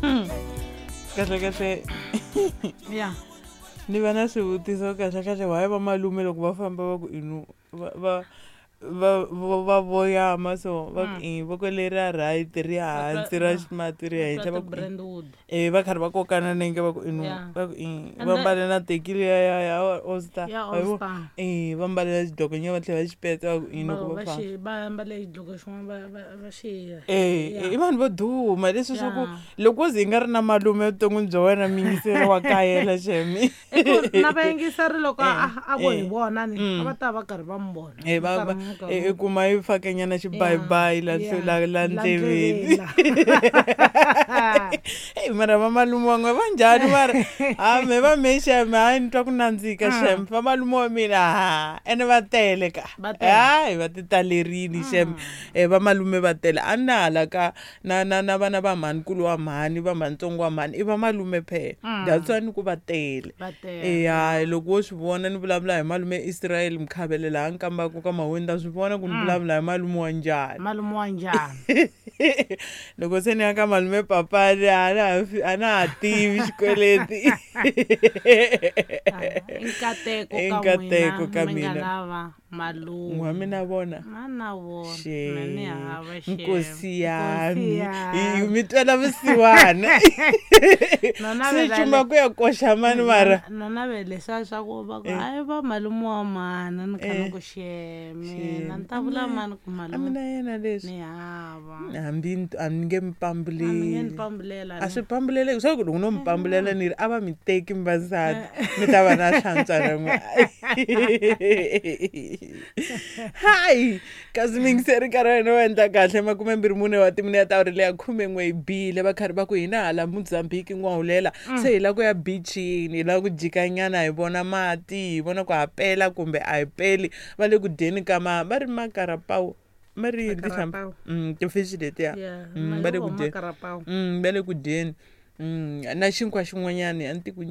Kahle kahle. Ya. Ni va na swivutiso kahle kahle, why va malume loko va famba va ku inu va voyama so va ku i voko leri ra right ri hansi ra ximati ri henhla, va ku Brentwood. Va karhi va kokana nenge, va ku inu va ku i va mbale na teki liya ya All Star. Ya All Star. Va mbale na xidloko nya, va tlhela va xi petsa, va ku i loko va famba. Va mbale xidloko xin'wana va xi I vanhu vo duma leswi swa ku loko wo ze yi nga ri na malume evuton'wini bya wena, miyingiseri wa kayela xemi. Na vayingiseri loko a vo hi vona ni a va ta va karhi va mi vona. Va i kuma yi fakenyana xibayibayi la la la ndleveni. Eyi, mara va malume wa n'we va njhani? Mara ha me va me xeme, hayi, ni twa ku nandzika xem. Va malume wa mina ha ene va tele ka, hayi, va ti talerini xem. Va malume va tele, a na hala ka na vana va mhanikulu wa mhani, va mhanitsongo wa mhani, i va malume phela. That's why ni ku va tele. Eya, loko wo swi vona ni vulavula hi malume Israel Mkhavele laha nkambaka ka Maweni, ta swi vona ku ni vulavula hi malume wa njhani. Malume wa njhani. Loko se ni ya ka malume Papani, a na ha tivi xikweleti. I nkateko. I nkateko ka mina. Mina. Malume wa mina vona. Na vona. Mina ni hava xe nkosi yami, hi mi twela vusiwana, se cuma ku ya koxa mani mara. No navela leswiya swa ku va ku hayi, va malume wa mana, ni kha ni ku xeme na ni ta vula mani ku a malume mina yena leswi ni hava. Hambi a ni nge mi A mi nge ni pambuleli. Pambulela. A swi pambuleleki swa ku loko no mi pambulela ni ri a va mi teki mi vasati, mi ta va na hlantswa na n'we. Hayi, kasi mingiseri, nkarhi wa hina wo endla kahle 24 wa timinete, awuri leya 11 yi bile. Va karhi va ku hina hala Mozambique n'wahulela, se hi lava ku ya beachini, hi lava ku jikanyana, hi vona mati, hi vona ku ha pela kumbe a hi peli. Va le ku dyeni ka ma va ri makarapawu, ma ri yini tinhlampfi? Makarapawu. Ti-fish letiya. Va le ku dyeni. Makarapawu. Va le ku dyeni na xinkwa xin'wanyani, a ni ti ku.